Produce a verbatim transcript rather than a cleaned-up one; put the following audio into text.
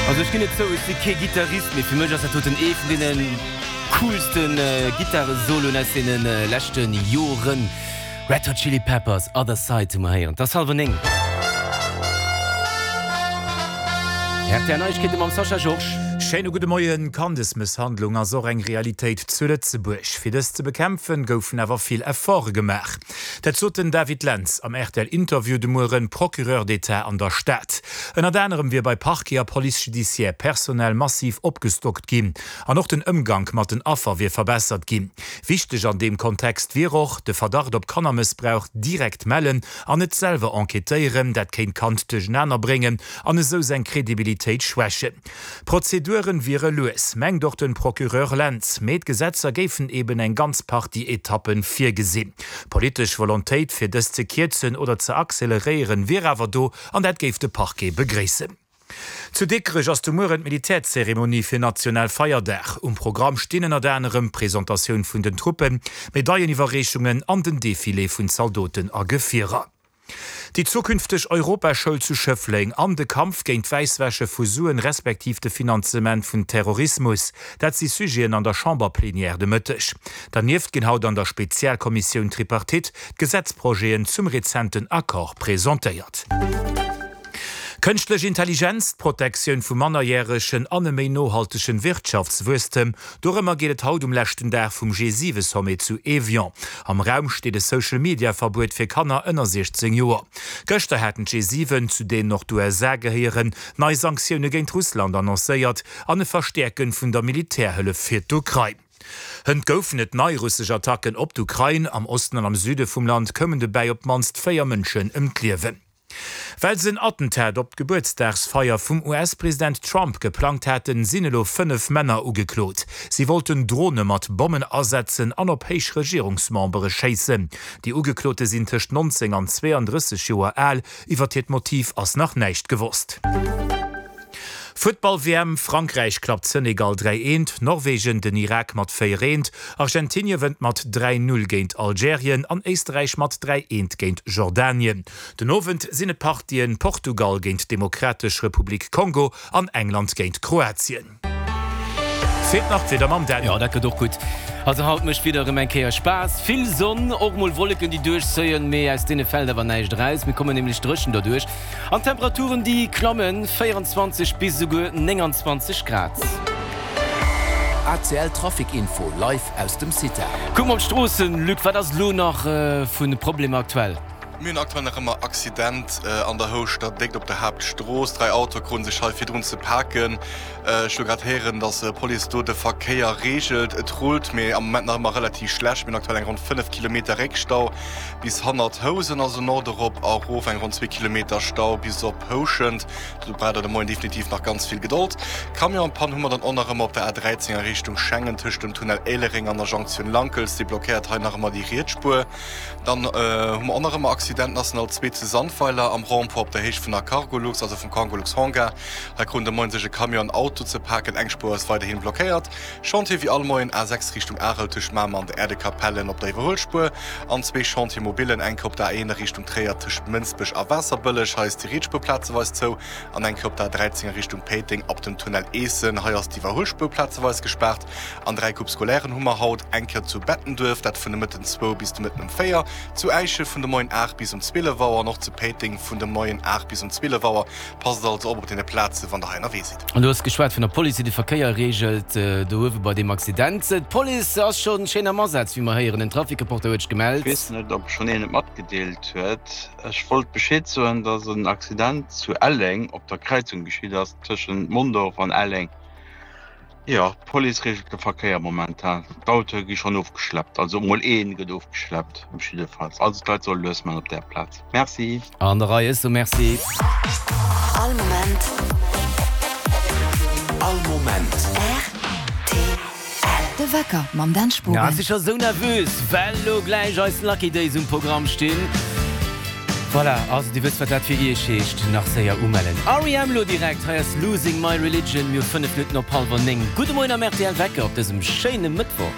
Also ech ginn et zou, ech si kee Gittarist, mee fir mech ass dat doten ee vun deene coolsten Gittaresoloen aus deene leschte Joren. Red Hot Chili Peppers, Other Side hu mer héieren. Et ass hallwer néng. Rtl Neiegkeete mam Sascha Georges. Schéine gudde Moien. Kandesmësshandlung ass och eng Realitéit zu Lëtzebuerg. Fir dës ze bekämpfen, goufen awer vill Efforte gemaach. Dat sot den David Lentz am R T L-Interview de Mueren, Procureur d'État an der Stad. Ënnert anerem wier bei Parquet a Police judiciaire personell massiv opgestockt ginn. An och den Ëmgank mat den Affer wier verbessert ginn. Wichteg an deem Kontext wier och, de Verdacht op Kannermëssbrauch direkt mellen an net selwer enquêtéieren, dat kéint d'Kand duerchenaner bréngen an esou seng Kredibilitéit schwächen. D'Prozeduren wiere lues, mengt och den Procureur Lentz, mee d'Gesetzer géifen eben eng ganz Partie Etappen virgesinn. Politesch Volontéit fir dës ze kierzen oder ze acceleréieren wier awer do an dat géif de Parquet begréissen. Zu Dikrech ass de Mueren d'Militärzeremonie fir Nationalfeierdag. Um Programm stinn ënnert anerem Presentatioun vun den Truppen, Medailleniwwerreechungen an den Defilé vun Zaldoten a Gefierer. Déi zukünfteg Europaschoul zu Schëffleng an de Kampf géint d'Wäisswäsche vu Suen respektiv de Finanzement vun Terrorismus, dat si Sujeten an der Chamberplenière de Mëtteg. Dernieft ginn haut an der Spezialkommissioun Tripartite d'Gesetzprojeten zum rezenten Accord presentéiert. Kënschtlech Intelligenz, d'Protektioun vu Mannerjäregen an e méi nohaltegen Wirtschaftswuesstem, dorëmmer geet et haut um leschten Dag vum G siwe Sommet zu Evian. Am Raum steet e Social-Media-Verbuet fir Kanner ënner siechzéng Joer. Gëschter haten d'G siwen, zu deenen och d'U S A gehéieren, nei Sanktioune géint Russland annoncéiert an e Verstäerke vun der Militärhëllef fir d'Ukrain. Hënt goufen et nei russesch Attacken op d'Ukrain. Am Osten an am Süde vum Land koumen dobäi op d'mannst véier Mënschen ëm d'Liewen. Well se en Attentat op d'Gebuertsdagsfeier vum U S-President Trump geplangt haten, sinn elo fënnef Männer ugeklot. Si wollten Drone mat Bommen asetzen an op héich Regierungsmembere schéissen. Déi Ugeklote sinn tëscht nonzéng an zweeandrësseg Joer al. Iwwer hiert Motiv ass nach näischt gewosst. Futtball-W M, Frankräich klappt Senegal dräi eent, Norwegen den Irak mat véier eent, Argentinie wënnt mat dräi null géint Algerien an Éisterräich mat dräi eent géint Jordanien. Den Owend sinn et Partien Portugal géint d'Demokratesch Republik Kongo an England géint Kroatien. Feelt nach d'Wieder mam Dan. Jo, dat gëtt och gutt. Also haut mécht d'Wieder erëm eng Kéier Spaass. Vill Sonn, och mol Wolleken déi duerchzéien, mee aus deene fält awer näischt eraus. Mir kommen nämlech dréchen derduerch. An d'Temperaturen déi klammen, véierenzwanzeg bis esouguer nénganzwanzeg Grad. A C L Trafic Info live aus dem CITA. Kucke mer op d'Stroossen, Luc, wat ass elo nach vu Problemer aktuell? Mir hunn aktuell nach ëmmer Accident an der Houschter Déckt op der Haaptstrooss. Dräi Autoe kruten sech hei virdrun ze paken. Ech hu grad héieren, dass d'Police do de Verkéier reegelt. Et rullt, mee am Moment nach ëmmer relativ schlecht. Mir hunn aktuell eng ronn fënnef Kilometer Réckstau bis hannert Housen, also Nord erop a erof eng ronn zwee Kilometer Stau bis op Houschent. Do braucht der de Moien definitiv nach ganz vill Gedold. Camionspann hu mer dann och nach ëmmer op der A dräizéng a Richtung Schengen tëscht dem Tunnel Éilereng an der Jonktioun Lankels. Déi blockéiert hei nach ëmmer déi riets Spuer. Dann hu mer och nach ëmmer Accident National zwee zu Sandweiler am Rond-point op der Héicht vun der Cargolux, also vum Cargolux Hangar. Hei kruten de Moien sech e Camion an Auto ze paken, eng Spuer ass weiderhin blockéiert. Chantier wéi all Moien A sechs Richtung Arel tëscht Mamer an der Erdekapellen op der Iwwerhuelspuer an zwee Chantier-Mobillen, eng Kéier op der A een a Richtung Tréier tëscht Mënsbech a Waasserbëlleg, hei ass déi riets Spuer plazeweis zou, an eng Kéier op der A dräizéng a Richtung Péiteng ab dem Tunnel Eessen, hei ass d'Iwwerhuelspuer plazeweis gespaart. An dräi Coupes scolairen hu mer haut, eng Kéier zu Bettenduerf, dat vun de Mëtten zwou bis de Mëtten um véier, zu Äischen vun de Moien aacht bis um zwielef Auer an och zu Péiteng vun de Moien aacht bis um zwielef Auer. Passt also op op deene Plaze wann der hei ënnerwee sidd. An du hues geschwat vun der Police, déi de Verkéier reegelt do uewe bei deem Accident. D'Police ass scho schéin am Asaz, wéi mer héieren. En Trafic-Reporter huet sech Ech gemellt. weess net, ob schonn een et matgedeelt huet. Ech wollt Bescheed soen, dass en Accident zu Elleng op der Kräizung geschitt ass tëschent Mondorf an Elleng. Jo, d'Police reegelt de Verkéier momentan. D'Autoe gi schonn ofgeschleppt, also emol ee gëtt ofgeschleppt op jiddefalls. Also d'Leit solle lues man op där Plaz. Merci. An der Rei, ech soe Merci. All Moment. All Moment. R T L. De Wecker mam Dan Ja, Spogen. si scho sou nervös, well lo gläich eis Lucky Days um Programm stinn. Voilà, also dir wësst wat dat fir iech heescht, nach séier umellen. R E M lo direkt, hei ass Losing My Religion, mir hu fënnef Minutten op hallwer néng. Gudde Moien am R T L Wecker op dësem schéine Mëttwoch.